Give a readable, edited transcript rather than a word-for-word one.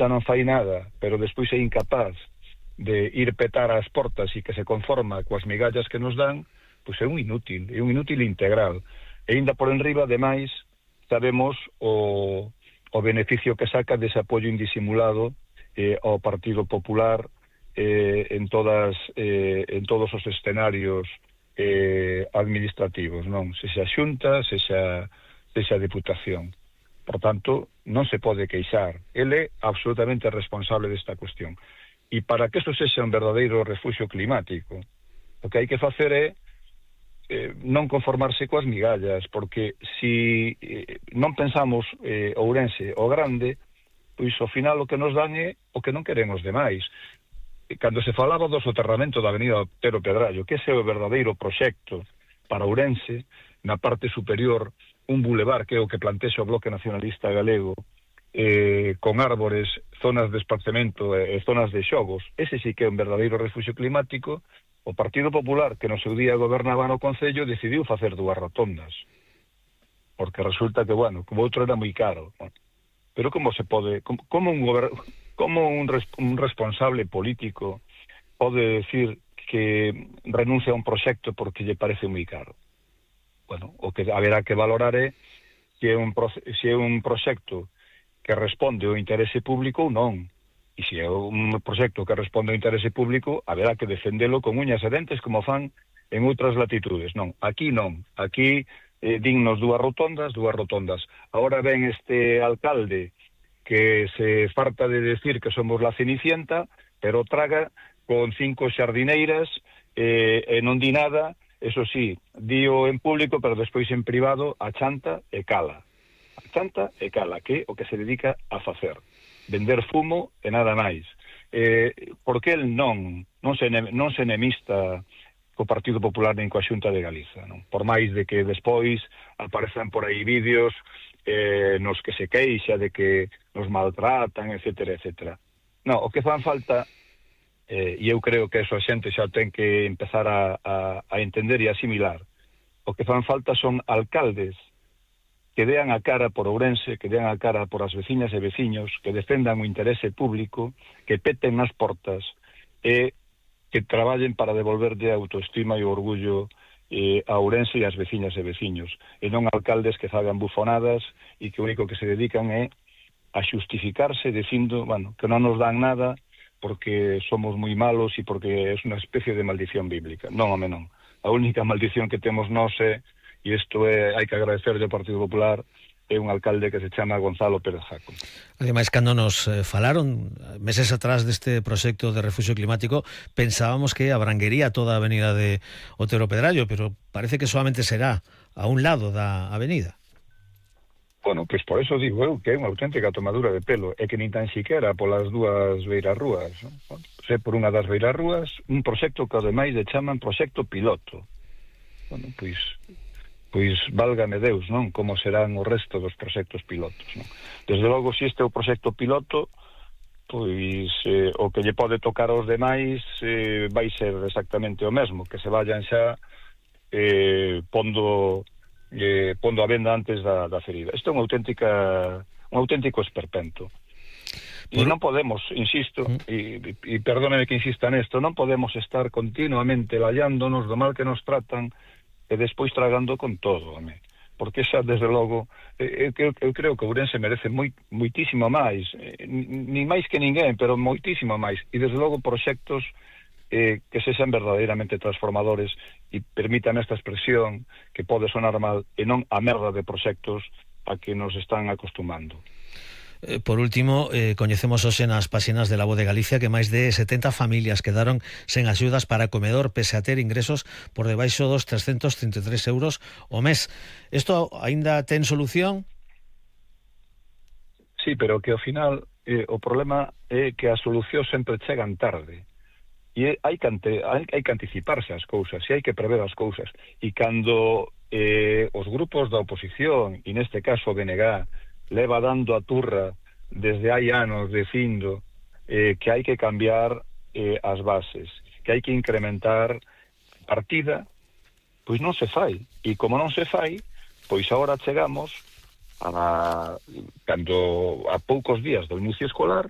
xa non fai nada, pero despois é incapaz de ir petar as portas e que se conforma coas migallas que nos dan, pois é un inútil integral. E ainda por enriba, ademais, sabemos o beneficio que saca dese apoio indisimulado ao Partido Popular en todos os escenarios administrativos, non? Sexa Xunta, sexa Deputación. Por tanto, non se pode queixar. Ele é absolutamente responsable desta cuestión. E para que isto sexa un verdadeiro refuxio climático, o que hai que facer é non conformarse coas migallas, porque se non pensamos Ourense o grande, pois ao final o que nos dan é o que non queremos demais. Cando se falaba do soterramento da avenida Otero Pedrallo, que ese é o verdadeiro proxecto para Ourense, na parte superior, un bulevar que é o que plantexa o Bloque Nacionalista Galego, con árbores, zonas de esparcemento e zonas de xogos. Ese sí que é un verdadeiro refuxio climático. O Partido Popular, que no seu día gobernaba no Concello, decidiu facer 2 rotondas, porque resulta que, bueno, como outro era moi caro. Pero como se pode, como un responsable político pode decir que renuncia a un proxecto porque lle parece moi caro? Bueno, o que haberá que valorar é se é un proxecto que responde ao interese público ou non. E se é un proxecto que responde ao interese público, haberá que defendelo con uñas e dentes como fan en outras latitudes. Non, aquí non. Aquí dignos 2 rotondas. Ahora ven este alcalde que se farta de decir que somos la Cenicienta, pero traga con 5 xardineiras e non di nada. Eso sí, dío en público, pero despois en privado achanta e cala. Que é o que se dedica a facer, vender fumo e nada máis. Porque el non se enemista co Partido Popular nin coa Xunta de Galiza, non? Por máis de que despois aparezan por aí vídeos nos que se queixa de que nos maltratan, etcétera, etcétera. Non, o que fan falta, e eu creo que eso a xente xa ten que empezar a entender e asimilar, o que fan falta son alcaldes que dean a cara por Ourense, que dean a cara por as veciñas e veciños, que defendan o interese público, que peten nas portas e que traballen para devolverlle a autoestima e o orgullo a Ourense e as veciñas e veciños, e non alcaldes que fagan bufonadas e que o único que se dedican é a xustificarse dicindo, bueno, que non nos dan nada porque somos moi malos e porque é unha especie de maldición bíblica. Non, home, non. A única maldición que temos nós é, e isto hai que agradecerle ao Partido Popular, é un alcalde que se chama Gonzalo Pérez Jaco. Ademais, cando nos falaron meses atrás deste proxecto de refuxio climático, pensábamos que abranguería toda a avenida de Otero Pedrallo, pero parece que solamente será a un lado da avenida. Bueno, pois por eso digo eu que é unha auténtica tomadura de pelo, é que nin tan siquera polas 2 beirarrúas, non? Se por unha das beirarrúas, un proxecto que ademais de chaman proxecto piloto. Bueno, pois válgame Deus, non? Como serán o resto dos proxectos pilotos, non? Desde logo, se este é o proxecto piloto, pois o que lle pode tocar aos demais vai ser exactamente o mesmo, que se vayan xa pondo a venda antes da ferida. Isto é un auténtico esperpento. E non podemos, insisto, e perdóneme que insista nesto, non podemos estar continuamente lallándonos do mal que nos tratan e despois tragando con todo, home. Porque xa, desde logo, eu creo que Ourense merece moitísimo máis, nin máis que ninguén, pero moitísimo máis, e desde logo proxectos que sexan verdadeiramente transformadores, e permítanme esta expresión que pode sonar mal, e non a merda de proxectos a que nos están acostumando. Por último, coñecemos hoxe nas páxinas de La Voz de Galicia que máis de 70 familias quedaron sen axudas para comedor pese a ter ingresos por debaixo dos 333 euros o mes. Isto aínda ten solución? Sí, pero que ao final o problema é que as solucións sempre chegan tarde. E hai que anticiparse as cousas, e hai que prever as cousas. E cando os grupos da oposición, e neste caso o BNG, leva dando a turra desde hai anos dicindo que hai que cambiar as bases, que hai que incrementar partida, pois non se fai. E como non se fai, pois agora chegamos cando a poucos días do inicio escolar